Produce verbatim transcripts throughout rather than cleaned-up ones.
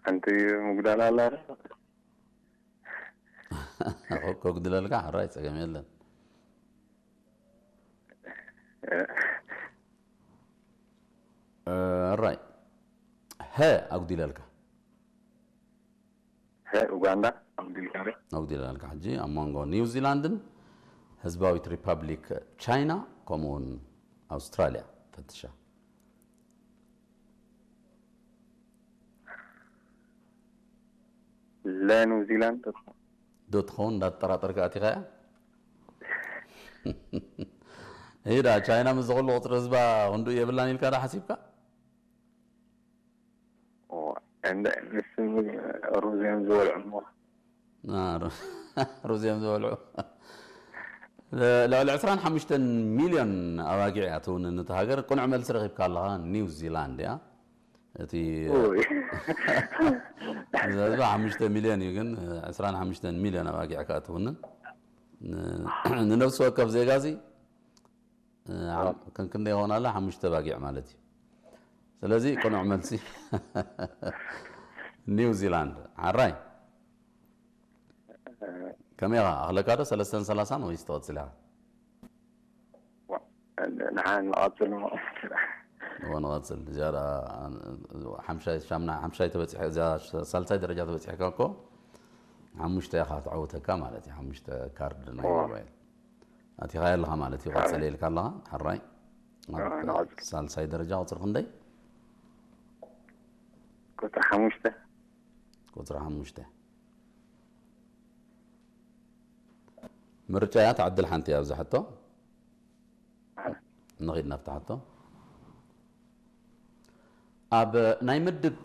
አንቲ ሙግዳል አለ አይደል? ከጉድለልካ ሐራይ ጸገም የለን። እ፣ ራይ ሀ አጉዲለልካ። ሀ ኡጋንዳ አጉዲልካ። አጉዲለልካ። ሕጂ ኣብ መንጎ ኒውዚላንድን ህዝባዊት ሪፐብሊክ ቻይና ከምኡውን ኣውስትራልያ ፈትሻ። ለኒውዚላንድ ዶ ትኸውን እንዳትጠራጠርካ ኣቲኻ እያ? ኢዳ ቻይና ምስ ዝኹሉ ቁጽሪ ህዝባ ክንዱ የብላን ኢልካ ዶ ሓሲብካ? ኦ፣ እንደ ንስ ሩዝ እዮም ዝበልዑ እሞ። አ፣ ሩ-፣ ሩዝ እዮም ዝበልዑ። ለ-፣ ልዕሊ ዕስራን ሓሙሽተን ሚልዮን ኣባጊዕ እያ ትውንን እታ ሃገር። ቅኑዕ መልሲ ረኺብካ ኣለኻ፣ ኒው ዚላንድ እያ። እቲ ኦይ። ህዝባ ሓሙሽተ ሚልዮን እዩ፣ ግን ዕስራን ሓሙሽተን ሚልዮን ኣባጊዕ ከኣ ትውንን። ን-፣ ንነፍሲ ወከፍ ዜጋ እዚ እ፣ ዓም-፣ ከን ክንደይ ይኾን ኣለ? ሓሙሽተ ባጊዕ ማለት እዩ። ስለዚ ቅኑዕ መልሲ ኒው ዚላንድ። ሓራይ። ከመይ ኢኻ? ኣኽለካ ዶ ሰለስተን ሰላሳን ወይስ ትቐጽል ኢኻ? ዋ፣ ንሓ ንቐጽል እሞ። እወ፣ ንቐጽል። እዚኣ ደኣ ሓምሻይ፣ ሻምና-፣ ሓምሻይ ተበጺሐ፣ እዚኣ ሳልሳይ ደረጃ ተበጺሕካ እኮ ሓሙሽተ ኢኻ ትዓውተካ ማለት እዩ። ሓሙሽተ ካርድ ናይ እወ። ሞባይል። ኣቲኻ ኣለኻ ማለት እዩ። ቀጽል ኢልካ ኣለኻ። ሕራይ። ኣብ ንቐጽል። ሳልሳይ ደረጃ ቁጽሪ ክንደይ? ቁጽሪ ሓሙሽተ። ቁጽሪ ሓሙሽተ። ምርጫ እያ፣ ትዕድል ሓንቲ እያ ኣብዚ ሕቶ። ንኺድ ናብታ ሕቶ። ኣብ ናይ ምድብ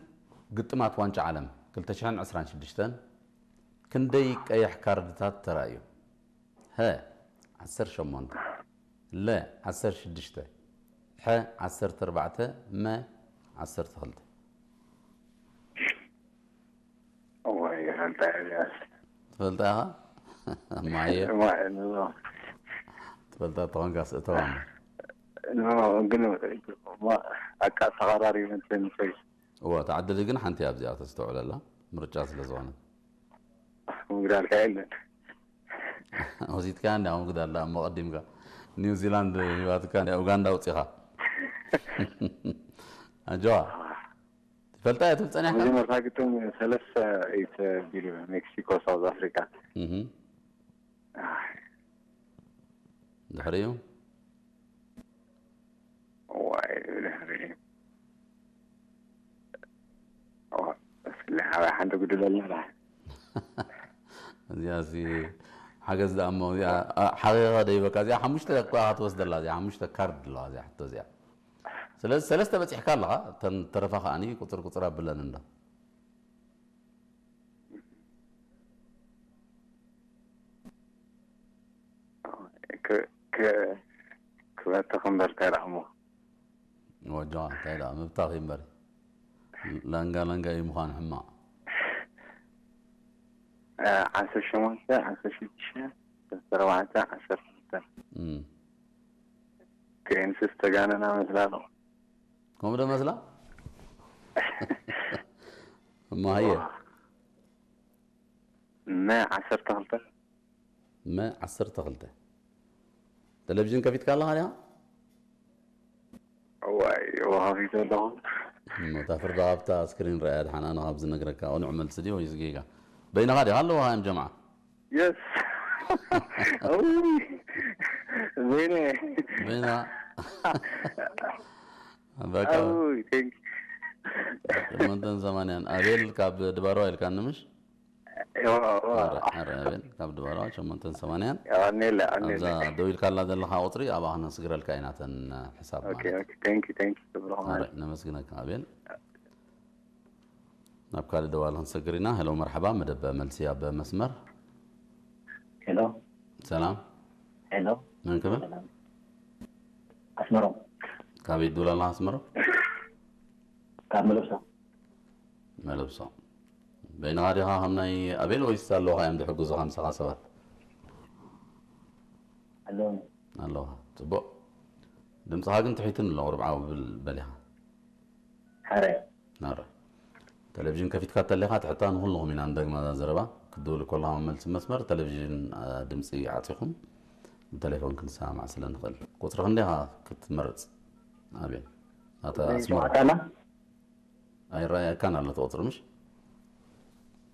ግጥማት ዋንጫ ዓለም ክልተ ሽሕን ዕስራን ሽዱሽተን ክንደይ ቀይሕ ካርድታት ተራእዩ? ሀ፣ ዐሰርተ ሸሞንተ፣ ለ፣ ዐሰርተ ሽዱሽተ፣ ሐ፣ ዐሰርተ ኣርባዕተ፣ መ፣ ዐሰርተ ክልተ። እዋይ፣ ይፈልጣ እያ። ትፈልጣ ኢኻ? እማዬ። እማ-፣ ኖ። ትፈልጣ ተኾንካ ስእተዋ እምበር። ኖ፣ ግን፣ ማ-፣ ኣቃ ተቐራሪ ይመስለኒ ሰይ። እወ፣ ተዓድል ግን ሓንቲ እያ ኣብዚኣ ተስተውዕለላ፣ ምርጫ ስለ ዝኾነት። ምግዳልካ የለን። ወሲድካ እንዲ፣ ኣብ ምግዳል እሞ ቀዲምካ። ኒውዚላንድ ሂባትካ እንዲ፣ ኡጋንዳ ኣውጺኻ። ኣጆኻ። ትፈልጣ እያ ትብል ጸኒሕካ? መጀመርታ ግጥም ሰለስተ ኢት ቢሉ ሜክሲኮ፣ ሳውዝ ኣፍሪካ። እህ። ኣይ። ድሕሪኡ? ዋይ፣ ድሕሪኡ። ዋ፣ እስኪ ሓንቲ ጉድለልና ደሓን። እዚኣሲ ሓገዝ ደኣ እሞ፣ እዚኣ፣ ኣ፣ ሓቂቐ ደይበካ። እዚኣ ሓሙሽተ እኳ ኢኻ ትወስደላ፣ እዚኣ ሓሙሽተ ካርድ ኣለዋ፣ እዚኣ ሕቶ እዚኣ። ስለዚ ሰለስተ በጺሕካ ኣለኻ፣ እተን ተረፋ ከኣኒ ቁጽር ቁጽር ኣብለን እንዶ። ክ-፣ ክ-፣ ክበትኽ እምበር ከይረኣሞ። ወጃ፣ እንታይ ደኣ፣ ምብታኽ እዩ እምበር። ለንጋ ለንጋ እዩ ምዃን ሕማቕ። እ፣ ዓሰርተ ሸሞንተ፣ ዓሰርተ ሽዱሽተ፣ ዓሰርተ ኣርባዕተ፣ ዓሰርተ ክልተ። እም። ከእንስስ ተጋነና መስላ ነው። ከምኡ ዶ መስላ? እሞ ሃየ። ዋ። መ ዓሰርተ ክልተ። መ ዓሰርተ ክልተ። ቴሌቪዥን ከፊትካ ኣለኻ ዲኻ? እዋይ፣ እወ፣ ከፊተ ኣለኹ። እሞ፣ እታ ፍርዲ ኣብታ ስክሪን ረኣያ፣ ደሓን ኣነ ካብ ዝነግረካ፣ ቅኑዕ መልሲ ድዩ ወይስ ጌጋ? በይንኻ ዲኻ ኣለኻ፣ እም ጀምዓ? የስ። ኣውይ፣ በይነ። በይና። በቃ። ኣውይ፣ ቴንክ ዩ። ሸሞንተን ሰማንያን። ኣቤል ካብ ድባርዋ ኢልካኒ ምሽ? እወ፣ እወ። ኣረ፣ ኣረ፣ ኣቤል፣ ካብ ድባርዋ ሸሞንተን ሰማንያን። የቐኔለ፣ የቐኔለ። ኣብዛ ደው ኢልካላ ዘለኻ ቁጽሪ ኣብኣ ክነስግረልካ ኢና፣ እተን ሕሳብ ኦኬ፣ ማለት። ኦኬ። ቴንክ ዩ፣ ቴንክ ዩ፣ ክብርኹም። ኣረ፣ ነመስግነካ ኣቤል። ናብ ካልእ ደዋል ክንሰግር ኢና። ሄሎ፣ መርሐባ፣ መደብ መልሲ ኣብ መስመር። ሄሎ። ሰላም። ሄሎ። መን ክብል? ሰላም። ኣስመሮም። ካበይ ትብል ኣለኻ ኣስመሮም? ካብ መለብሶ። መለብሶ። በይንኻ ዲኻ ከም ናይ ኣቤል ወይስ ኣለውኻ እዮም ዝሕግዙኻ ምሳኻ ሰባት? ኣለውኒ። ኣለውኻ። ጽቡቕ። ድምጽኻ ግን ትሒቱኒ ኣሎ፣ ቁሩብ ዓው ብል በል ኢኻ። ሓረ። ናረ። ተለቪዥን ከፊትካ ተሌኻ ትሕታ ንኹልኹም ኢና እንደግማ ዘረባ ክድውል ኮለኻ መመልሲ መስመር ተለቪዥን፣ አ፣ ድምጺ ዓጺኹም ብተሌፎን ክንሰማማዕ ስለ ንኽእል። ቁጽርኽ እንዴኻ ክትመርጽ? ኣቤ። ኣታ ኣስመራ። ሸውዓተ ኣላ? ኣይረኣየካን ኣሎ እቲ ቁጽሪ ምሽ?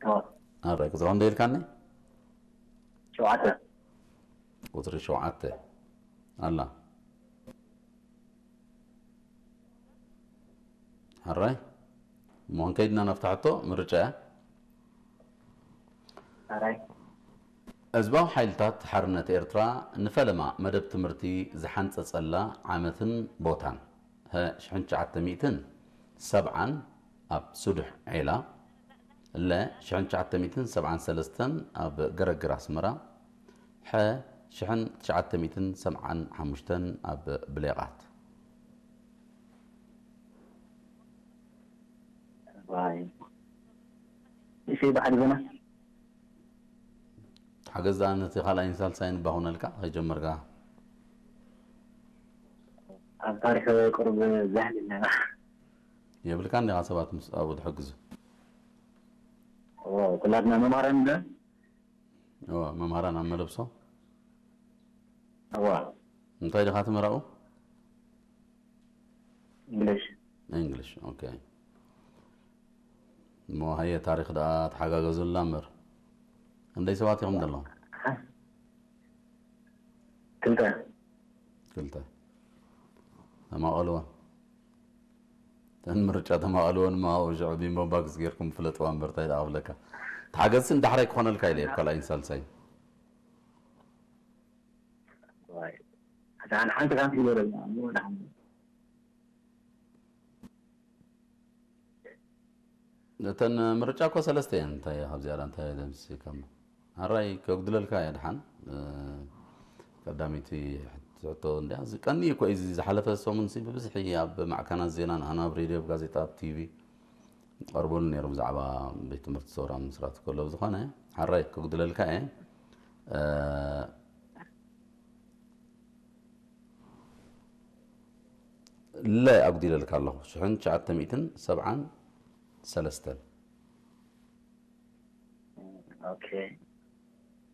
ኣዎ። ኣራይ ቁጽርኽ እንዴ ኢልካኒ? ሸውዓተ። ቁጽሪ ሸውዓተ ኣላ። ሕራይ፣ እሞ እንከይድና ነፍትሐቶ ምርጫ እያ። ሕራይ። ህዝባዊ ሓይልታት ሓርነት ኤርትራ ንፈለማ መደብ ትምህርቲ ዝሓንጸጸላ ዓመትን ቦታን፣ ሀ፣ ሽሕን ትሽዓተ ሚእትን ሰብዓን ኣብ ሱዱሕ ዔላ፣ ለ፣ ሽሕን ትሽዓተ ሚእትን ሰብዓን ሰለስተን ኣብ ገረግር ኣስመራ፣ ሐ፣ ሽሕን ትሽዓተ ሚእትን ሰብዓን ሓሙሽተን ኣብ ብሌቓት። ዋይ። እሺ፣ ባሕሪ ዘና። ተሓገዝ ደኣ ነቲ ካልኣይን ሳልሳይን እባ ኩነልካ ከይጀመርካ። ኣብ ታሪኽ ቅሩብ ዛህል ኣለና። የብልካን ዲኻ ሰባት ምስ ኣብኡ ትሕግዙ? እወ፣ ኩላትና መምሃራን እንደ? እወ፣ መምሃራን ኣብ መለብሶ? እወ። እንታይ ዲኻ ትምህር ኣብኡ? እንግሊሽ። እንግሊሽ፣ ኦኬ። እሞ ሀየ ታሪኽ ደኣ ተሓጋገዙልና እምበር። ክንደይ ሰባት ኢኹም ዘለኹም? ክልተ። ክልተ። ተማቐልወን። ተን ምርጫ ተማቐልወን እማ ኣብኡ ሽዑ ቢምቦ ባክስ ጌርኩም ፍለጥዋ እምበር ታይ ደኣ ክብለካ። ተሓገዝሲ ንዳሕራይ ክኾነልካ ኢለ እብ ካልኣይን ሳልሳይን። ዋይ። ኣታ ሓንቲ ሓንቲ ካን ትግበረልና፣ እሞ ደሓን። እተን ምርጫ እኮ ሰለስተ እየን። እንታይ ካብ ዝያዳ እንታይ ደምሲ ከም ሕራይ ከጉድለልካ እየ ድሓን። እ፣ ቀዳሚቲ ሕቶ እንድያ፣ እዚ ቀኒ እኮ እዩ፣ እዚ ዝሓለፈ ሰሙን ሲ ብብዝሒ ኣብ ማዕከናት ዜና ንኣና ኣብ ሬድዮ፣ ኣብ ጋዜጣ፣ ኣብ ቲቪ ቀርቡን ነይሩ ብዛዕባ ቤት ትምህርቲ ሰውራ ምስራት ከሎ። ብዝኾነ ሕራይ ከጉድለልካ እየ። እ፣ ለ ኣጉዲለልካ ኣለኹ። ሽሕን ትሽዓተ ሚእትን ሰብዓን ሰለስተን። ኦኬ።